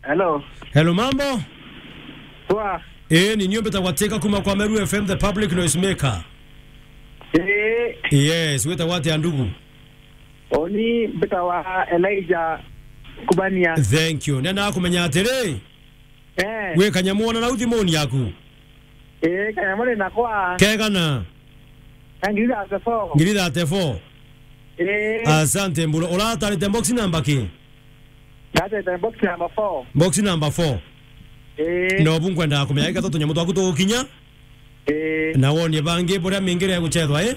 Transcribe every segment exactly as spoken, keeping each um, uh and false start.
Hello. Hello, mambo? Poa. Eh, ni nio mbitagwa Teka kuma kwa Meru F M, the public noise maker. Eh. Yes, witagwa atia ndugu? Oni mbitagwa Elijah Kubania. Thank you. Nenda kumenya atiri, eh, wi kanyamu ona nau thimuni yaku? Eh, kanyamu ni nakwa. Kegana? Na ngiri thirty-four. Ngiri thirty-four. Eh. Asante, mburo. Uratarite box number ki? Ndatete box number four. Box number four. Eh. No bu nkwenda kumenya gatoto nyamu twaku tugukinya. Eh. Na wonie bangi buria mingire ya guchethwa, eh?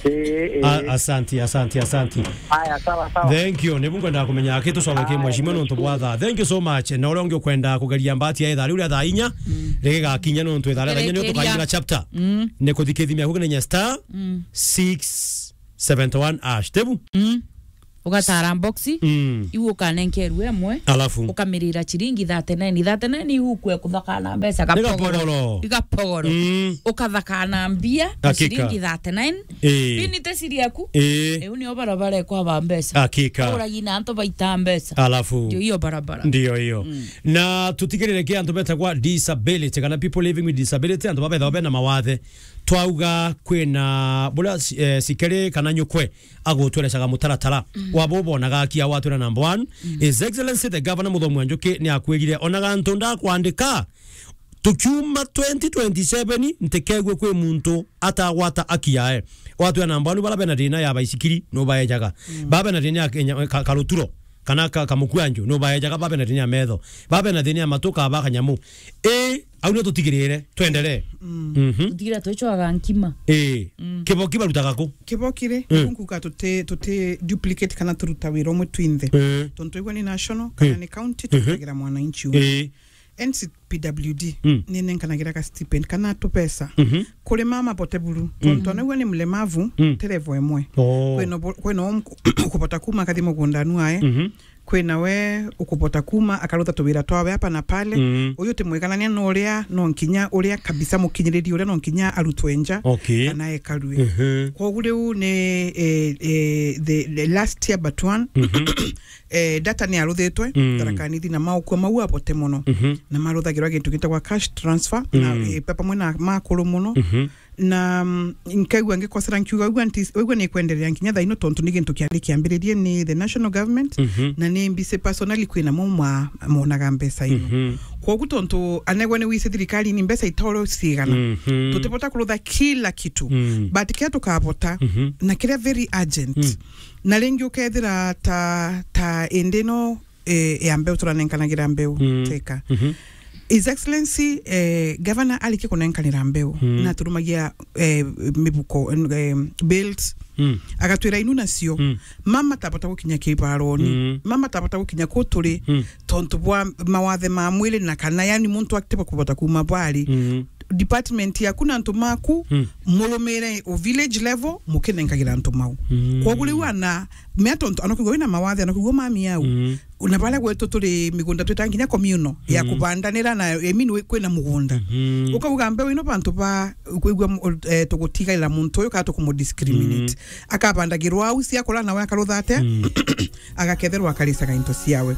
Eh, eh. A-, asanti, asanti, asanti. Aya, sawa, sawa. Thank you. Ni bu nkwenda kumenya aki tucoke ki, aya, mheshimiwa, nontu bwa thaa. Thank you so much. Na uria ungi ukwenda kugeria mbati ya ithaa riu ria thaa inya, mm, rigigakinya nontu ithaa ria thaa inya nio tukaingira chapter. Mm. Ni kuthikithimia kuginenya star, mm, six seventy-one hash. Tebu? Mm. Ugatara boxi, mm, iu ukanenkerwe emwe, alafu ukamirira chiringi thirty-nine. Thirty-nine iu ukwe kuthakana mbeca. Ni gapogoro. Gapogoro. Igapogoro. Mm. Ukathakana mbia na, hakika, chiringi thirty-nine. Ii. Pini te siri yaku. Ii. Iu nio barabara ikwaba mbeca. Hakika. Uragi na antu baita mbeca. Alafu. Ndio hiyo barabara. Ndio hiyo. Mm. Na tutigirire ki antu betagwa disability, kana people living with disability, antu babethagwa bena mawathe. Twauga kwina buria, eh, sikeri kana nyukwe agutwerecaga mutaratara, mm, wa bo bonaga akia watwira number one. Mm. His Excellency the Governor Muthomi wa Njuki ni akwirire, ona gantu ndakwandika, tukiuma twenty twenty-seven, ntikegue kwi muntu atagwata aki yae. Watwira number one, bara bena thina ya baisikiri, nubaejaga. Mm. Bara bena thina ya kenya-, ka-, karuturo, kana ka-, kamukwanju, nubaejaga. Bara bena thina ya metho, bara bena thina ya matu, ka ba kanyamu. Ii, au nio tutigirire. Twendelee. Mm. Mhm. Tutigire twicwaga nkima. Ii. Mm. Kiboki barutaga ku? Kiboki ri, mm, nkuga tuti, tuti duplicate kana turuta wira umwe twinthe. Mm. Tontu igwe ni national, kana, mm, ni county, mm-hmm, turutagira mwananchi umwe. Ii. N C P W D, mm, ni nenkanagira ga stipend kana tupesa, mhm, kuri mama Poteburu. Mm. Tontu anagua ni mlemavu, mm, ti level imwe. Oh. Kwina bo-, kwina om-, ukubota kuma akathi mugundanu ae. Mhm. Kwina we ukubota kuma akarutha tuwira twawe hapa na pale. Mm. Uyu ti mwiganania na uria, no nkinya uria kabisa mukinyiriri uria no nkinya arutwe nja, okay, kana ekarue. Mhm. Kwogu riu ni, eh, eh, the, the last year but one, mhm, eh, data ni aruthitwe, mm, Tharaka Nithi na maukua mau abote mono. Mhm. Na maruthagirwa gintu gitagwa cash transfer, na, mm, eh, pa-, pamwe na makuru mono. Mhm. Na, mm, nkaigua ngikosera nkiuga, "Igua nti-, igua ni kwenderea nkinya thaa ino tontu ni gintu kiari kiambiririe ni the national government, mhm, na ni mbise personally kwina mo mwa-, monaga mbeca ino." Mhm. Kwogu tontu anegwa ni wise thirikari ni mbeca itoro cigana. Mhm. Tutibota kurutha kila kitu. Mm. But kia tukabota, mhm, na kiria very urgent. Mm. Na ringi ukethira ta, ta indi no, eh, ya mbeu turanenkanagira mbeu, mm, Teka. Mhm. His Excellency, eh, Governor arikia kunenkanira mbeu, mm, na turumagia, eh, mibuko, eh, bills, mm, agatwira inu nacio, mm, mama tabota gukinya kibaroni, mm, mama tabota gukinya ku turi, mm, tontu bwa mawathe ma mwiri na kana, yani, muntu atiba kubota kuma bwari. Mm. Department yaku na antu maku, mm, murumire o village level, mukinenkagira antu mau. Mm. Kwogu riu ana, mea tontu, anakugua wina mawathe, anakugua mami au. Mm. Na baria gwetu turi migunda twitaga nginya communal ya, mm, kubandanira na, I mean, wi-, kwina mugunda. Mm. Ukauga mbeu ino bantu ba kwigua mu-, eh, tugutigaira muntu uyu kana tukumudiscriminate. Mm. Akabandagirwa au ciakura nawe akarutha atia? Mm. Agaketherwa akaricaga into ciawe.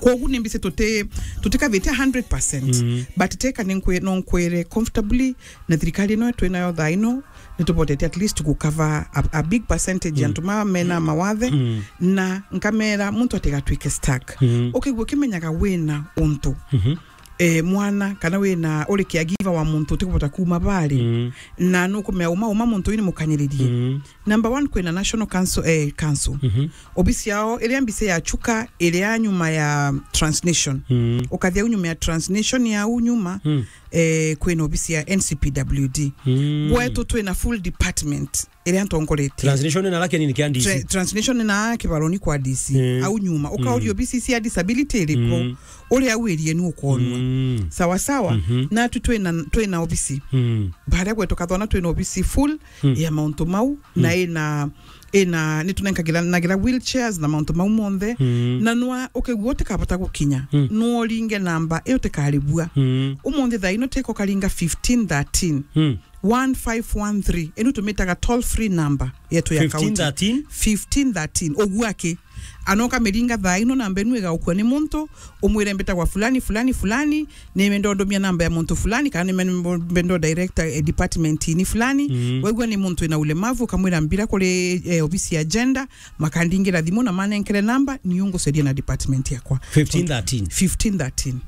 Kwogu ni mbise tuti-, tutikavitia hundred percent. Mm. But Teka ni nkwi-, no nkwire comfortably na thirikari ino twinayo thaa ino, ni tubotetie at least ku cover a, a big percentage, mm, antu ma mena mawathe, mm, na nkamera muntu atigatwike stuck. Mm. Ukigua ukimenyaga wina untu, mhm, eh, mwana, kana wina, uri caregiver wa muntu utikubota kuma bari, mm, na nukumea uma, uma muntu uyu ni mukanyiririe. Mm. Number one, kwina National Council, eh, Council. Mhm. Obisi yao iria mbise ya Chuka, iria nyuma ya Transnation. Mm. Ukathia au nyuma ya Transnation ya au nyuma, mm, eh, kwina obisi ya N C P W D. Mm. Gwetu twina full department iria ntongoretie. Transnation na lake nini kia D C? Tra-, Transnation na kibaroni kwa D C. Mm. Au nyuma. Ukauria, mm, obisi cia disability iriku? Mm. Uria au irie ni ukonwa. Mm. Sawa sawa. Mhm. Na tu twina, twina obisi. Mm. Baria gwetu kathona twina obisi full, mm, ya mauntu mau, mm, na ina, ina, ni tunenkagira, nagira wheelchairs na mauntu mau monthe. Mm. Na nwa ukigua utikabota gukinya, mm, nwa uringe namba iyo utikaribua. Mm. Umunthi thaa ino Teka ukaringa fifteen thirteen, mm, one five one three. Ino tumitaga toll free number yetu ya county. Fifteen thirteen? Fifteen thirteen. Ugua ki? Anoka miringa thaa ino, namba inu igaukua ni muntu, umwire mbitagwa fulani, fulani, fulani, ni mendo ndomia namba ya muntu fulani, kana ni mendo director, eh, department ini fulani. Mm. Waigua ni muntu ina ulemavu, ukamwira mbira kuri, eh, obisi ya gender, makandingira thimu na manenkere namba, ni unguceria na department yakwa. Fifteen thirteen. Fifteen thirteen.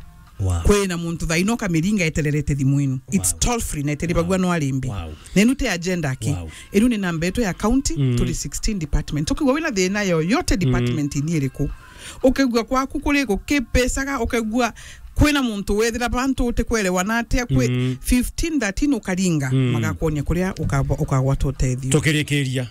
Wow. Kwina muntu thaa ino kamiringa etererete thimu inu. It's toll free na eteribagua no arimbi. Wow. Na inu ti agenda aki. Wow. Inu ni namba yetu ya county, mm, turi sixteen department. Ukigua wina thina yoyote department, mm, ni iriku. Ukigua kwaku kuri gukipesaga, ukigua kwina muntu wethira bantu utikwerewa na atia kwi, mm, fifteen thirteen ukaringa, mm, magakwonia kuria ukagwa-, ukagwata utethio. Tukirikiria.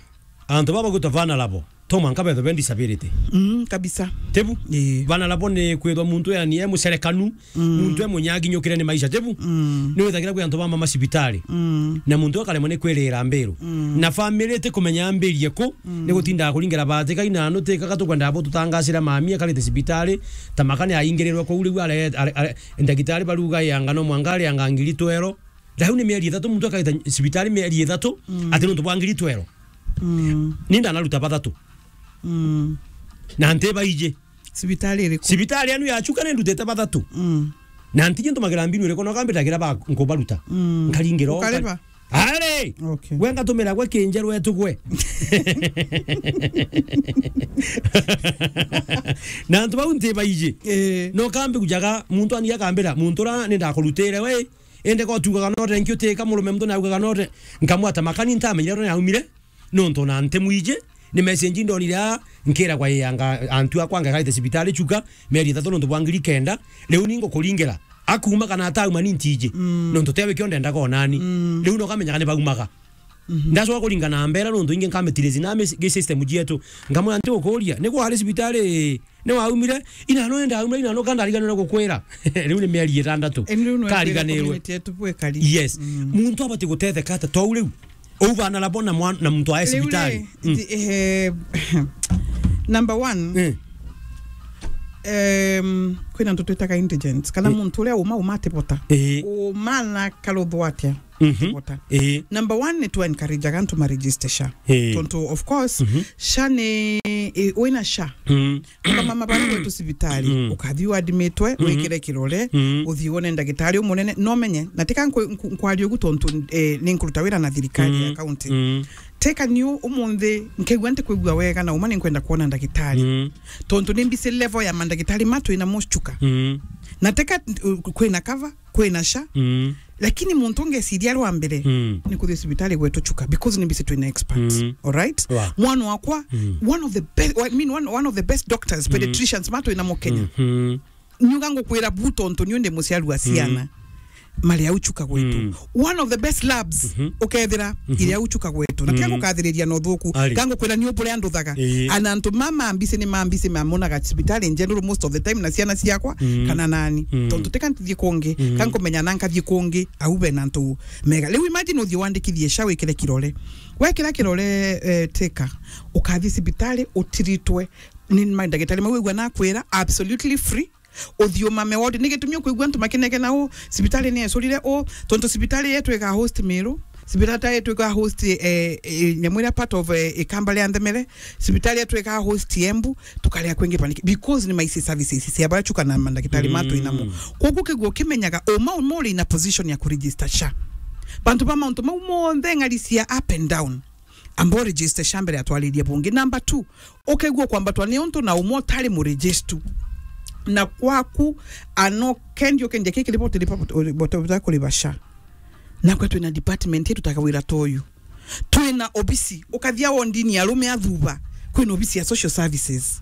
Antu baba gwitwa vulnerable, to mwanka bethe be disability. Mm, kabisa. Tebu? Ii. Vulnerable ni kwithwa muntu yani e mucerekanu, mm, muntu e munyaginyukire ni maisha, tebu? Mm. Ni withagira kwi antu bama macibitari. Mm. Na muntu akaremwa ni kwirira mbiru. Mm. Na family ti kumenya ambirie ku, mm, ni gutindaga kuringera bati kai na anu ti kaka tukwenda bo tutangacira mami akarite cibitari, ta makani aingirirwe kuu riu are, are, are, ndagitari baruga yanga no mwanga ari anga ngiri twero. Riu ni mieri ithatu muntu akaita cibitari mieri ithatu, mm, ati nuntu bwa ngiri twero. Mm. Ni ndanaruta bathatu. Mm. Na nti baiji. Cibitari iriku? Cibitari anu ya Chuka ni ndutite bathatu. Mm. Na nti ntumagira mbinu iriku, no kambitagira ba nkubaruta. Mm. Nkaringira o. Ukariba? Ari! Okay. Gwe ngatumira gwe kinjeru etu gwe. Na antu bau nti baiji. Eh. No kambi kujaga muntu ani akambira, muntu ra ni ndakurutire we. Ende ko tugaga note, nkio teka murume muntu na ugaga note. Nkamwata makani ntamenyire ro naumire. Nontu na nte mwiji, ni message ndonire aa, nkiragwa yanga antu akwa ngakaite cibitari Chuka, mieri ithatu nontu bwa ngiri kenda. Riu ni ngukuringera. Akuma kana atauma ni ntiji. Mm. Nontu tewe kio ndendaga onani. Mm. Riu no kamenyaga ni baumaga. Mhm. Ndacoka kuringa na mbera nontu ingi nkametirezi na mi-, gi system jietu. Nkamwira nti gukuria, ni kwari cibitari? Ni waumire? Ina no enda aumire, ina no kandariganirwe gukwira. Riu ni mieri itandatu. Eni riu no kariganirwe. Community yetu bwe kari. Yes. Mm. Muntu abati gutetheka ata tou riu? Uu bana na bona mwan-, na muntu ae cibitari. Riu ri, mm, thi-, eh, number one, eh, em, kwina antu twitaga indigent. Kana, eh, muntu uria uma, uma atibota. Eh. Uma na karuthwa atia? Mhm. Atibota. Eh. Number one ni tu encourage antu ma register SHA. Eh. Tontu, of course, mhm, SHA ni, eh, wina SHA. Mm. Amba mama bari gwetu cibitari, mm, ukathi uadmitwe, mm, wikire kirore, mm, uthi wone ndagitari umunene, no menye, na tika nkwe-, nku-, nkwaria ugu tontu, eh, ni nkuruta wira na thirikari ya, mm, county. Mm. Teka niu umunthi, nkigua nti kwigua wega na uma ni nkwenda kuona ndagitari. Mm. Tontu ni mbisi level ya mandagitari ma twina mo Chuka. Mm. Na teka, uh, kwina cover, kwina SHA. Mm. Lakini muntu ngeciria rwa mbere, mm, ni kuthi cibitari gwetu Chuka, because ni mbisi twina experts. Mm. All right? Wa. Mwana wakwa, mm, one of the best, I mean, one, one of the best doctors, mm, pediatricians, ma twina mo Kenya. Mhm. Nyuga ngukwira bu tontu niu ndi muciari wa ciana. Mm. Mari au Chuka gwetu. Mm. One of the best labs, mhm, ukethira, mhm, iri au Chuka gwetu. Na tia, mm, gukathiriria na uthuku. Ari. Ka ngukwira niu buria nduthaga. Ii. Ana antu mama mbisi ni mambisi mamonaga cibitari njendu most of the time na ciana ciakwa, mm, kana nani. Mm. Tontu tika ntithie kungi, mm, ka nkumenya na nkathie kungi, au bena antu mega. Riu imagine uthie wandikithie SHA wikire kirore. Wekira kirore, eh, teka, ukathie cibitari utiritwe ni mandagitari mau wigua nakwira absolutely free. Uthiumame ward. Ni gitumi ukwigua antu makinegena u, cibitari ni ecurire u, tontu cibitari yetu ika host Meru, cibitari yetu ika host, eh, eh, nyamu iria part of, eh, ikamba ria Nthemere, cibitari yetu ika host Embu, tukaria kwingi paniki, because ni maisi services cia baria Chuka na mandagitari, mm, ma twinamo. Koguo kigua kimenyaga uma uma uri in a position ya kuregister SHA. Bantu ba mauntu mau monthe ng'ari cia up and down. Amba uregister SHA mbere ya twariria bungi. Number two, ukegua kwambatwa ni untu na umwe utari muregistu. Na kwaku, ano kendi ukendia kiki riboti, riboti, riboti, riboti kuriba SHA. Nakwa twina department itutaga wira ta uyu. Twina obisi, ukathia wondini ya arume athuba. Kwina obisi ya social services.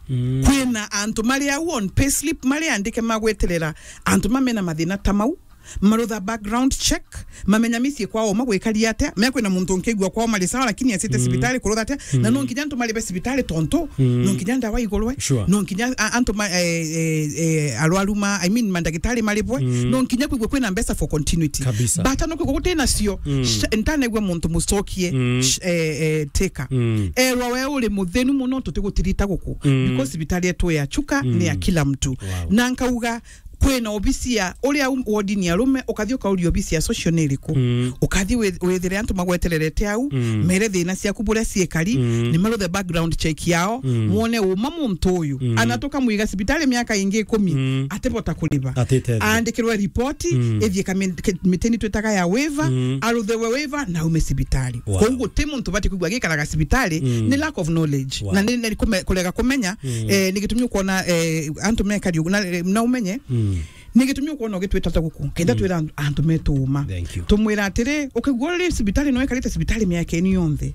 Mm. Kwina antu mari au on payslip mari andike magweterera antu mamena mathina ta mau. Marutha background check, mamenya micii kwao magwikaria atia, mekwina muntu nkigua kwao mari sawa, lakini acite, mm, cibitari kurutha atia, na, mm, no nkinya antu maribe cibitari tontu, mm, no nkinya ndawa igurwe, sure, no nkinya a-, antu ma-, eh, eh, eh, arwaru ma, I mean, mandagitari maribwe, mm, no nkinya kwigua kwina mbeca for continuity. Kabisa. Bata no kwigua guti nacio, mm, sh-, ntanegua muntu mucokie, mm, sh-, eh, eh, teka. Mm. Erwa we uri muthenu muno, tutigutirita guku, mm, because cibitari yetu ya Chuka, mm, ni ya kila mtu. Wow. Na nkauga, kwina obisi ya uria um-, wodini ya arume, ukathi ukauria obisi ya social ni iriku. Mm. Ukathi wi-, withire antu magwetererete au, mm, mere thina ciaku buria ciikari, mm, ni maruthe background check yao, mm, mwone uma muntu uyu. Mm. Ana tukamwiga cibitari miaka ingi ikumi, mm, atibota kuriba. Atitethia. Aandikirwe ripoti, mm, ithie kami-, ke-, mitini twitaga ya waiver, mm, aruthiwe waiver, na aume cibitari. Wow. Koguo guti muntu ubati kwigua agikaraga cibitari, mm, ni lack of knowledge. Wow. Na ni, ni kume-, kurega kumenya, mm, eh, ni gitumi ukwona, eh, antu mekari ugu, na, na umenye, mm, ni gitumi ukwona ugitwita ta guku, kenda, mm, twira antu, antu metu uma. Thank you. Tumwira atiri, ukigua uri cibitari no ikarite cibitari miaka ino yonthe.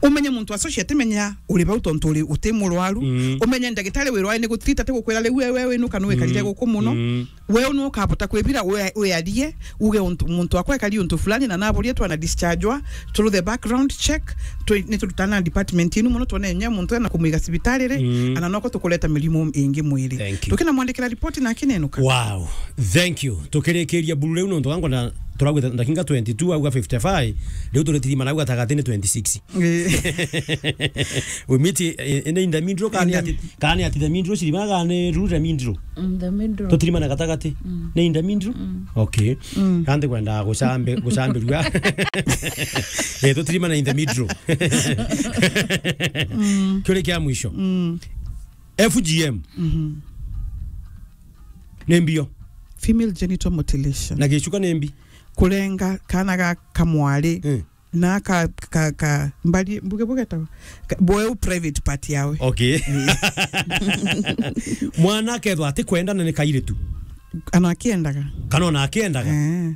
Umenye muntu associate menya uri bau tontu uri uti murwaru. Mm. Umenye ndagitari wirwae ni gutreat ati gukwira riu wewe winuka ni wikarire, mm, guku muno. Mm. Wewe ni ukabota kwibira we-, wiarie, uge untu, muntu akwa ekari untu fulani na naburie twana dischargewa, through the background check, twi-, ni turutana na department inu muno, twone nya muntu ena kumwiga cibitari ri, mm, ana noko tukureta mirimu ingi mwiri. Thank you. Tukina mwandikira ripoti na akinenuka. Wow. Thank you. Tukirikiria buru riu nontu gangwa na turagwita ndakinga twenty-two auga fifty-five, riu turitirima nau gatagati ni twenty-six. Eh. We meet, eh, in the middle, kani ati, kani ati the middle, siriba gani rule the middle. In the middle. Tutirima na gatagati. Mm. Ni in the middle? Mm. Okay. Mm. Kandi kwenda gucambe-, gucambirua. Eh, tutirima na in the middle. Mm. Kiuria kia mwisho. Mm. F G M. Mhm. Ni mbio. Female genital mutilation. Na gicuka ni mbi. Kurenga kana ga kamwari. Mm. Na ka, ka, ka, mbari, mbuge, bugetawa? Ka, bweu private part yawe. Okay. Mwana akethwa ati kwenda na ni kairitu. Ana akiendaga. Kana ona akiendaga. Eh.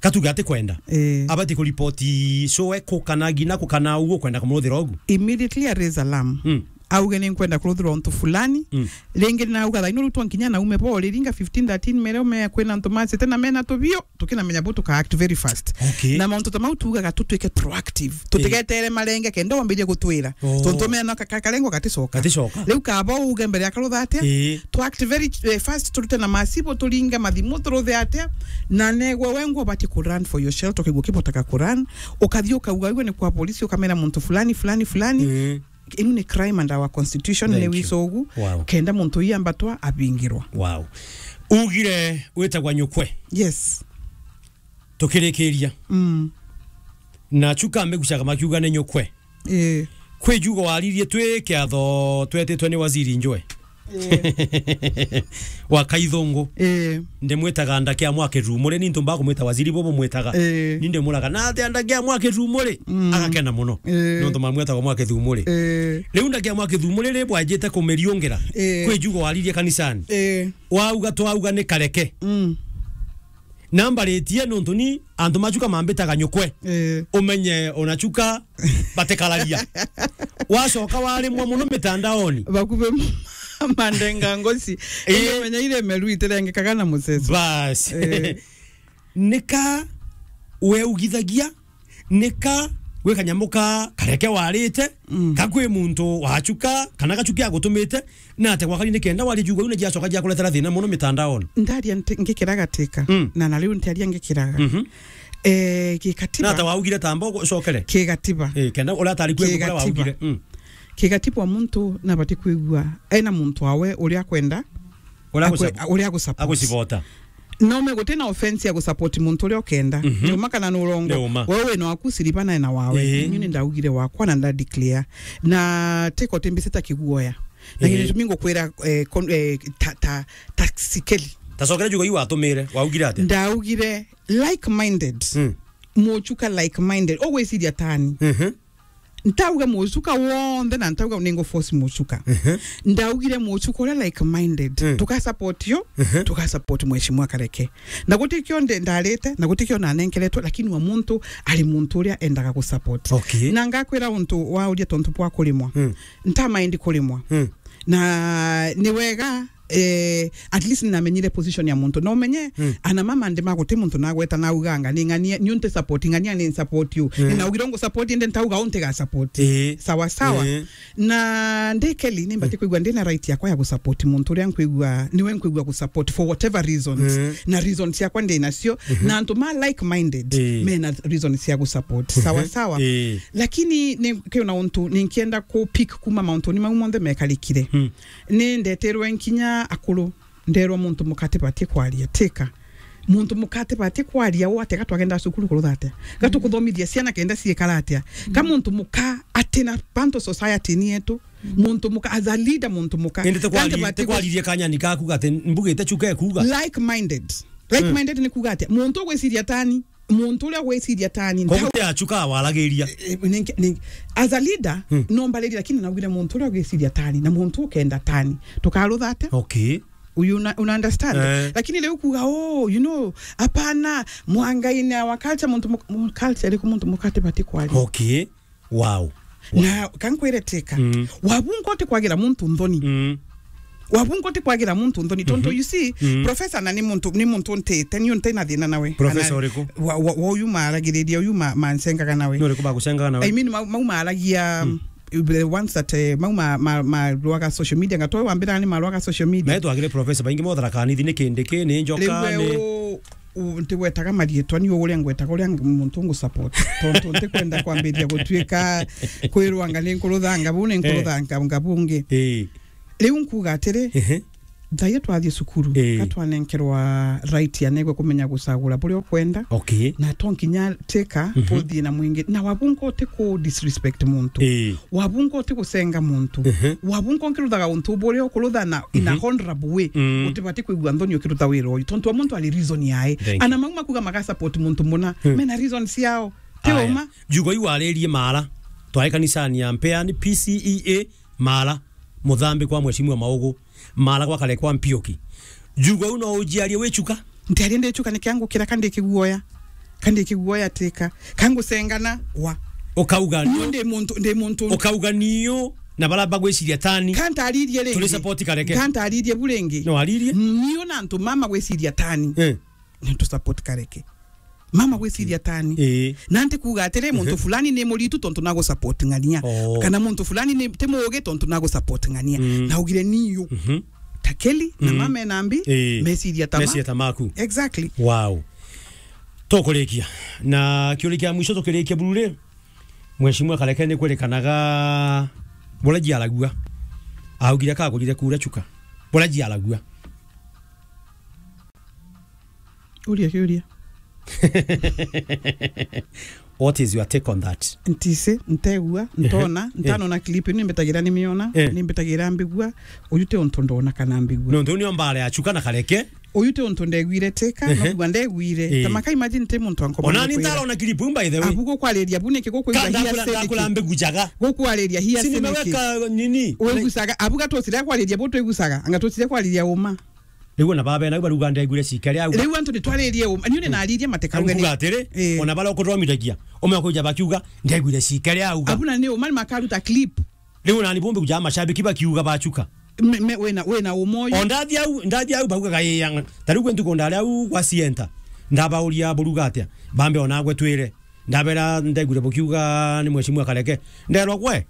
Katuge ati kwenda. Eh. Abati kuripoti so eko kana ngina ko kana uguo kwenda kumuruthira ugu. Immediately I raise alarm. Mm. Auge ni nkwenda kuruthirwa untu fulani. Mm. Ringi ni nauga thaino riu twankinya na ume bo riringa fifteen thirteen mere ume kwina antu masite na mena tubio. Tukinamenya bu tuka act very fast. Okay. Na mauntu ta mau tuugaga tutwike proactive. Eh. Tutigetere marenge kenda wambirie gutwira. Oh. Tontu mena ka-, ka-, karengo gaticoka. Gaticoka. Riu kaba uge mbere ya karutha atia? Eh. Tu act very, eh, fast, turute na masibo, turinge mathimu, turuthe atia? Na negwe wengwa ubati ku run for your shelter, ukigua kibotaga ku run, ukathi ukauga, "Igwe ni kwa polisi," ukamera muntu fulani, fulani, fulani. Eh. Inu ni crime under our constitution, ni wisogu. Wow. Kenda muntu ii ambatwa abingirwa. Wow. Ugire witagwa nyukwe. Yes. Tukirikiria. Mm. Na chuka mbegucaga makiuga ni nyukwe. Eh. Kwi jugo waririe twi kiatho twetitwe ni waziri njwe. Eh. Wa Kaithungu. Eh. Ndimwitaga ndake ya mwake rumuri, ni ntumba kumwita waziri bobo mwitaga. Eh. Ni ndimuraga, "Na atia ndake ya mwake rumuri?" Mm. Agakena muno. Eh. Nontu mamwitaga mwake rumuri. Eh. Riu ndake ya mwake rumuri ri bwajite kumiriungira. Eh. Kwi jugo waririe kanisani. Eh. Wauga twauga ni kareke. Mm. Nambaritie nontu ni antu machuka mambitaga nyukwe. Eh. Umenye ona chuka batikararia. Wacoka warimwa muno mitandaoni. Bakubi mandenga ngoci. Eh. Ende menya ire meru itirengekaga na muceso. Bas. Eh. Nika weugithagia, nika gwi kanyamu ka kareke warite, mm, ka kwi muntu wachuka, kana gachuki agutumite, na ate gwakari ni kenda wari jugwa, yu ni jiacoka jiakuretera thina muno mitandaoni. Ndaria nti-, ngikira gatika, mm, na na riu ntiaria ngikiraga. Mhm. Eh, gikatiba. Na ate waugire tamba ucokere? Kigatiba. Eh, kenda uria atari kwe ngukura waugire. Mm. Kigatiba muntu nabati kwigua ena muntu awe uria akwenda, uria akwe-, agusup-, uria agusupport. Agusupport. No me guti na offense ya gusupport muntu uria ukenda. Mhm. Ni uma kana ni urongo. Ni uma. Wewe wina waku siriba na ena wawe. Ii. Ni ni ndaugire wakwa na nda declare. Na tiko timbisita kiguoya. Na ii, gitumi ngukwira, eh, kon-, eh, ta, ta, ta sikeli. Ta cokera jugo iu watumire, waugire atia? Ndaugire like-minded. Mm. Muchuka like-minded. Ugwiciria tani. Mhm. Ntauga mucuka wonthe na ntauga ningu force mucuka. Mhm. Ndaugire mucuka uria like-minded. Mm. Tuka support yo, mhm, tuka support Mheshimiwa Kareke. Na gutikio nde-, ndarite, na gutikio nanenkeretwe, lakini wa muntu ari muntu uria endaga gu support. Okay. Na ngakwira untu wauria tontu bwa kurimwa. Mm. Nta mind kurimwa. Mm. Na ni wega, eh, at least ninamenyire position ya muntu. No menye, mm, ana mama ndi maguti muntu nagweta nauganga, ni ng'ania, ni unti support, ng'ania ni support you. Mm. Ni naugire ngu support, inde ntauga unti ga support. Ii. Sawa, sawa. Ii. Na ndi Kelly, ni mbati, mm, kwigua ndi na right yakwa ya gu support muntu uria nkwigua, niwe nkwigua gu support for whatever reasons. Mm. Na reasons yakwa ndi nacio. Mhm. Na antu ma like-minded, ii, mena reasons cia gu support. Sawa, mhm, sawa. Ii. Lakini ni kiona untu, ni nkienda ku pick kuma mauntu ni mau monthe mekarikire. Mm. Ni ndeterwe nkinya akuru. Nderwa muntu muka atibatie kwaria, tika. Muntu muka atibatie kwaria, uu atia gatwagenda cukuru kurutha atia? Gatukuthomithia ciana kenda ciikara atia? Ka muntu muka atina bantu society-ini yetu, muntu muka, as a leader, muntu muka. Indi ti kwari-, ti kwaririe kanyani kaku gati mbugite chuka ekuuga. Like minded. Like minded ni kuuga atia? Muntu ugwiciria tani. Muntu uria ugwiciria tani. Koguo ti achuka waragiria. Eh, eh, ninki-, ninki-, as a leader, no mbaririe, lakini naugire muntu uria ugwiciria tani, na muntu ukenda tani. Tukarutha atia? Okay. Uyu una, una understand? Eh. Lakini riu kuuga, "Oh, you know, hapana, mwangaine our culture, muntu mu-, mu-, culture iriku muntu muka atibati kwaria?" Okay. Wow. Na kankwire tika. Mm. Wabunga uti kwagira muntu nthoni. Mm. Wabunga uti kwagira muntu nthoni. Tontu, mhm, you see, mm, professor na ni muntu, ni muntu ntite, ni unte na thina nawe. Professor uriku? Wa, wa, wa uyu maaragiriria, uyu ma, mancengaga nawe. Ni uriku bagucengaga nawe? I mean, mau, mau maaragia, mm, the ones that, eh, mau ma, ma, marwaga social media, ngatwa wambira ni marwaga social media. Na twagire professor baingi motharakanithi ni kindi ki, ni njoka, riu we ni u-, u-, ntigwetaga marietwa, ni uria ngwetaga uria ng-, muntu ngu support. Tontu ntikwenda kwambiria gutuika kwirwa anga ni nkuruthanga bu, ni, eh, nkuruthanga nga bungi. Eh. Riu nkuuga atiri, ehe, thaia twathie cukuru, eh, ka twanenkerwa right ya negwe kumenya gucagura buria ukwenda. Okay. Na to nkinya tika, mhm, tuthie na mwingi. Na wabunga uti ku disrespect muntu. Eh. Wabunga uti gucenga muntu. Mhm. Wabunga nkiruthaga untu buria ukuruthana in a, mhm, honorable way. Mm. Utibati kwigua nthoni ukirutha wira uyu. Tontu o muntu ari reason yae. Thank you. Ana mau makuga maga support muntu muna. Mm. Mena reason ciao. Ti uma. Jugo iu waririe mara. Twae kanisani ya Mpeani, P C E A, mara. Muthambi kwa Mheshimiwa Maugu. Mara gwa kare kwa Mpioki. Jugo iu no ujiarie wichuka? Ntiaria ndichuka, niki angukira ka ndi kiguoya? Ka ndi kiguoya tika? Ka ngucengana? Wa. Ukauga ni ndi muntu, ndi muntu. Ukauga niu na bara bagwiciria tani. Ka ntaririe ringi. Turi support Kareke. Ka ntaririe bu ringi. No aririe? Niu na antu mama gwiciria tani. Eh. Ni tu support Kareke. Mama gwiciria tani. Ii. Na nti kuuga atiri, muntu, mhm, fulani ni muritu tontu nagu support ng'ania. Oh. Kana muntu fulani ni, ti muugi tontu nagu support ng'ania. Mm. Naugire niu. Mhm. Ta Kelly na, mm, mama ena mbi, ii, meciria ta ma-, meciria ta maku. Exactly. Wow. Tukurikia. Na kiuria kia mwisho tukirikia buru ri, Mheshimiwa Kareke ni kwirikanaga buria jiaragua. Augire kagurire kura chuka. Buria jiaragua. Uria kiuria. What is your take on that? Ntisi, ntegua, ntona, ehe, ntanona clip, nimbitagira nimiona, eh, nimbitagira mbigua, uyu ti untu ndona kana mbigua. Nontu nio mbara ya chuka na Kareke. Uyu ti untu ndeguire tika, ehe, nokugua ndeguire. Eh. Ta maka imagine ti muntu ankoma. Ona ni ntarona clip, by the way. Abu gukwariria, bu niki gukwigua hiace niki? Ndakura mbigujaga. Gukwariria hiace niki? Si nimeweka nini? Wigucaga, abu gatutire kwariria, bu twigucaga, anga tutire kwariria uma. Riu ona babena au baruga, "Ndeguire cike ria auga." Riu antu nitwaririe uma. Niu ni naririe matekauge ni. Nkuga atiri, eh, ona baria ukuthomithia, umwe akuja bakiuga, "Ndeguire cike ria auga." Abu na ni uma ni makaruta clip. Riu ona ni bumbi kuja mashabiki bakiuga bachuka. Me, me, wina, wina uma uyu. O ndathi au, ndathi au baugaga, "Ii, anga." Ta riu kwi ntuku ndari au gwa Sienta. Ndabauria buruga atia. Bambe ona gwe twire. Ndabera, "Ndeguire bukiuga ni Mheshimiwa Kareke." Nderwa, "Gwe?"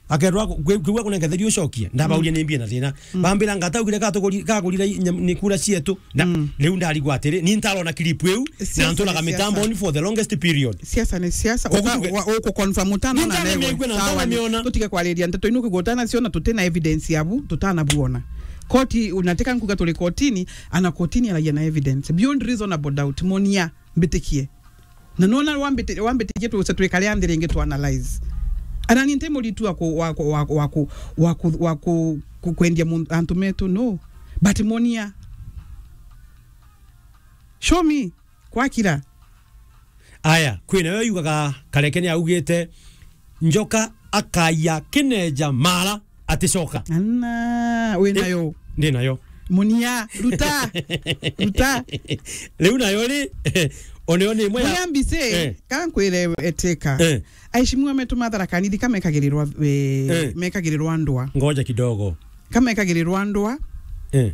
Akerwa, "Kwi-, kwigua kunengetheria ucokie." Ndabauria, mm, ni mbie na thina. Mm. Bambira, "Ngataugire gatuguri-, kagurire i-, nyam-, ni kura cietu." Na, mm, riu ndarigwa atiri, ni ntarona clip iu, na siasa nturaga ni siasa. Mitamboni for the longest period. Siasa ni siasa. Koguo uka-, tuge-, wa-, uku confirm utano ni na ntana nego. Migwe na sawa, ntana miona. Tutige kwariria ndeto ino kigutana ciona tutina evidence yabu, tutana buona. Koti, unatika nkuga turi kotini, ana kotini aragia na evidence. Beyond reasonable doubt, monia, mbitikie. Na nona wambite-, wambitikie tuce twikare a nthi ringi tu analyze. Ana ni nti muritu wa ku-, wa ku-, wa ku-, wa ku-, wa ku-, wa ku-, ku-, kwendia mun-, antu metu, no. But monia. Show me. Kwakira. Aya, kwi nayo yugaga Kareke ni augite, "Njoka akaiya kineja mara." Aticoka. Ana, wi nayo? Ndi nayo. Munia, ruta. Ruta. Riu nayo ri, oneo ni imwe ya Munia mbise, eh, kankwire etika. Eh. Aishimiwa metu mathara kanithika mekagirirwa, eh, eh, mekagirirwa ndwa. Ngoja kidogo. Kamekagirirwa ndwa. Eh.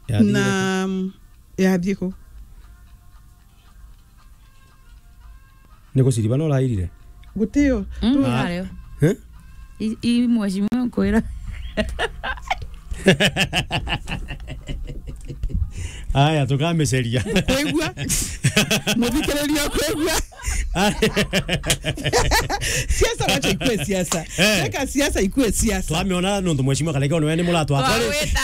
Yathire na, ku? Mm, yathie ku? Ni guciriba no urairire? Gutio. Mm, tu- areo. Eh? I, i mheshimiwa nkwira. Aya, tukamiceria. Kwigua? Muthikiriria kwigua? Aya. Siasa wacha ikue siasa. Eh. Weka siasa ikue siasa. Twamiona nontu mheshimiwa Kareke, one ni muratwa. Twawita.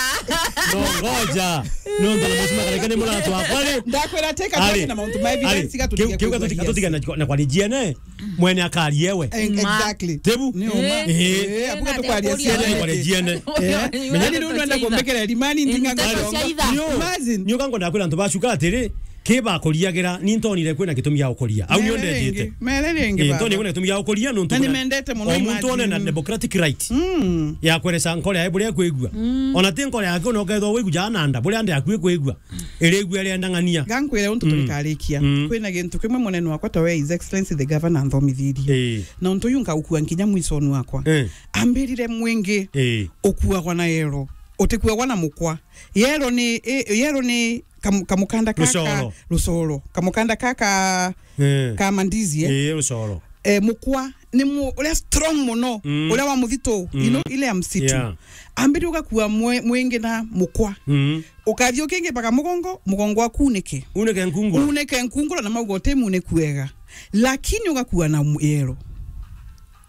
No, ngoja. No, ndo mheshimiwa Kareke ni muratu wakwa ri. Ndakwira teka Ari. Twende na mauntu ma evidence Ari. Kiu, kiu gatuti-, gatutige na, na kwa rijiene. Mwene akari ewe. Eh, Ma. Exactly. Tebu. Ni uma. Eh. Eh, abuga tukwaria ciene. Kwa rijiene. Eh. Menya ni ndu nenda kumbikira rimani ndinga. Ndio. Imagine. Nio kango ndakwira antu bacuka atiri, ki bakuriagira, ni ntonire kwina gitumi ya gukuria. Au nio ndetite. Mere ringi. Mere ringi. Eh, ntonire kwina gitumi ya gukuria, nontu na ni mendete muno o muntu one na imagine. Democratic right. Mm. Ya kweresa nkore yae buria kwigua. Mm. Ona ti nkore yake ona ukethwa wigua jana nda, buria nda yaku ikwigua. Irigua rienda ng'ania. Gankwire untu turikarikia. Mm. Kwina gintu kimwe munene wakwa ta we His Excellency the Governor anthomithirie. Eh. Na untu uyu nkagukua nkinya mwisoni wakwa. Eh. Ambirire mwingi Eh. ukuagwa na yero. Utikuagwa na mukwa. Yero ni, i-, yero ni kam-, kamukanda kaka Rucoro. Rucoro. Kamukanda kaka Eh. ka mandizi, eh? Eh, rucoro. Eh, mukwa ni mu-, uria strong muno, Mm. uria wa muthitu, Mm. you know, ile ya msitu. Yeah. Ambiri ugakua mwe-, mwingi na mukwa. Mm. Ukathi ukingi mpaka mugongo, mugongo waku unike. Unike nkunguro. Unike nkunguro na mauga uti muniku wega. Lakini ugakua na mu-, yero.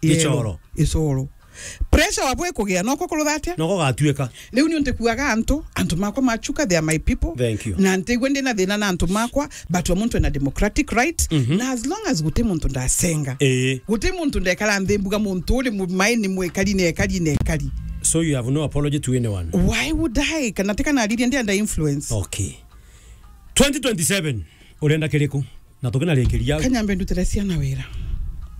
Yero. Gicoro. Gicoro. Pressure wabwe kugia, noko kurutha atia? Noko gatuika. Riu ni untikuaga antu, antu makwa machuka, they are my people. Thank you. Na ntigwe ndina thina na antu makwa, but wa muntu ena democratic right, Mhm. na as long as guti muntu ndasenga. Ii. Guti muntu ndekara nthi mbuga muntu uri mu-, maini mwekari na ekari na ekari. So you have no apology to anyone? Why would I? Kana tika naririe ndi under influence. Okay. Twenty twenty-seven, urenda kiriku? Na tukinarikiria. Kanyambe ndutire ciana wira.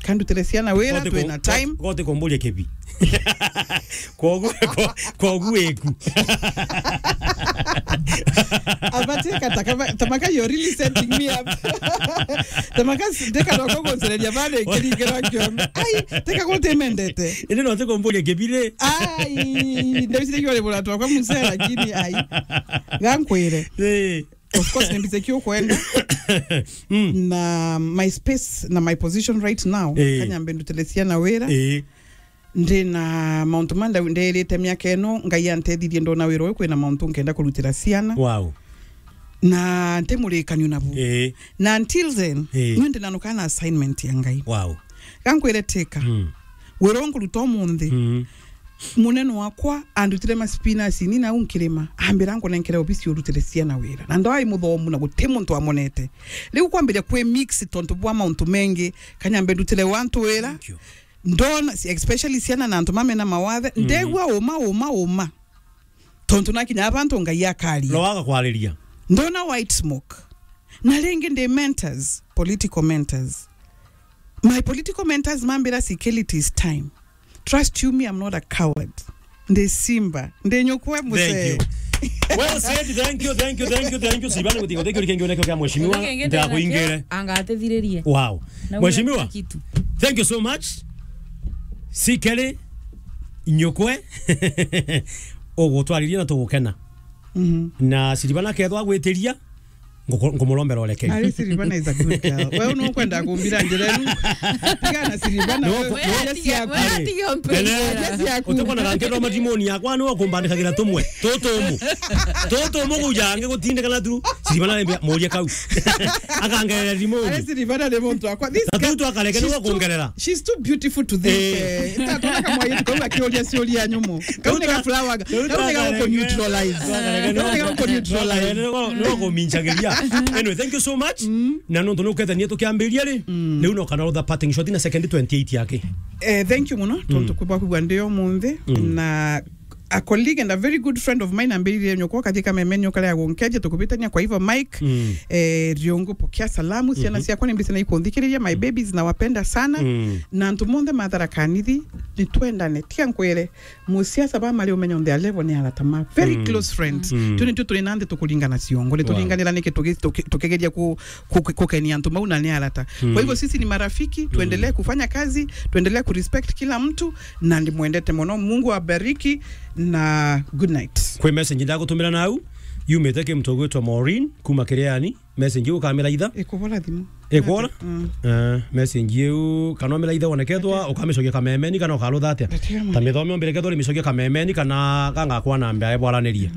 Kandutire ciana wira, Gote twina ku-, time. Gote kumburia kibi. Kogu, ko-, kogu eku. Abateka takama-, tamaka, you're really setting me up. Tamaka s-, ndeka no kuguncereria bana ikiri kira kion. Ai, teka gote mendete. Indi no te kumburia kibi ri. Ai, ndabisire kiore bura twakwa musela, lakini ai. Gankwire. Eh. Of course, ni mbize kiu kwenda. Mm. Na my space na my position right now, Eh. Kanyambe ndutire ciana wira. Eh. Ndi na mauntu ma nda-, nderite miaka ino, Ngai antethirie ndona wira uyu kwina mauntu nkenda kurutira ciana. Wow. Na nti murikanio nabu. Eh. Na until then, Eh. ni ndi nanuka na assignment ya Ngai. Wow. Gankwire tika. Mm. Wira unkuruta umunthi. Mm. Munene wakwa andutire ma spinach ni nau nkirima, ambira nkunenkere obisi urutire ciana wira. Na ndwai muthomu na guti muntu amonete. Riu kwambiria kwi mix tontu bwa mauntu mengi, Kanyambe ndutire wantu wira. Thank you. Ndona, especially ciana na antu mamena mawathe, Mm. ndegua uma, uma, uma. Tontu nakinya abantu Ngai akaria. No aga kwariria. Ndona white smoke. Na ringi ndi mentors, political mentors. My political mentors mambira, "Sikili, it is time. Trust you me, I'm not a coward. Ndi simba, ndi nyukwe muse." Thank you. Well said, thank you, thank you, thank you, thank you. Sibana guti, guti kiri kingi uneke kia mheshimiwa, Guti kingi ntakuingire. Anga atithiririe. Wow. Na Mheshimiwa, kitu. Thank you so much. Sikeli, nyukwe, ugutwaririe na tugukena. Mhm. Na Siribana kethwa gwitiria, nguku-, ngumurombera urekeri. Ari Siribana is a good girl. Wewe nukwenda kumbira njira inu. Tiga na Siribana, No, wewe, no. Njira ciaku. Wewe atiga mpira. Ene, Njira ciaku. Utekona gantero matimoni yakwa, ni wakumbandikagira tumwe. Tutumu. Tutumu kujange gutindikana tu. Siribana arembia, "Muria kau." Akangerera rimoni. Ari Siribana ni muntu wakwa. This Na girl, tu twakareke she's niwe too, kuongerera. She's too beautiful to this. Eh. Eh, tatona kamwaitu kau akiuria ciuria nyumu. Kau ni ka flower. Kau ni ga ku neutralize. Kau ni ga ku neutralize. Niwe kuminchagiria. Anyway, thank you so much. Mm. Na nontu nukethania tukiambiria ri, Mm. riu no kana rutha parting shot na second twenty-eight yake. Eh, thank you muno, tontu Mm. kubwa kubwa ndi umunthi, Mm. na a colleague and a very good friend of mine ambirire nyoko kathie kamemeni ukarea gunkeja tukubitania. Kwa hivyo Mike, Mm. eh, Riongo, pokea salamu, ciana Mhm. ciakwa ni mbise na ikunthikiriria, my babies nawapenda sana. Mm. Na antu monthe mathara kanithi, ni twendane. Tiga nkwire, musiasa ba mari umenya on their level ni arata ma. Very Mm. close friends. Mm. Tu ni tu turi na nthi tukuringana ciongo. Ni Wow. turinganira niki tugi-, tuki-, tukigeria ku-, ku-, ku-, kukenia antu mau na ni arata. Mm. Kwa hivyo sisi ni marafiki, Mm. tuendelee kufanya kazi, tuendelee kurespect kila mtu, na ndimwendete muno. Mungu abariki na good night. Kwi message ndagutumira nau, yumite ki mtu ugwitwa Maureen, kuma Kiriani, message iu ukamiraitha. Ikubora thimu. Ikwora? Mm. Eh, message iu, kana umiraitha wonekethwa, ukamicokia kamemeni, kana ukarutha atia? Ndatia ma. Ta mithome umbire kethwa urimicokia kamemeni, kana kangakwa na mbea ebwaranirie.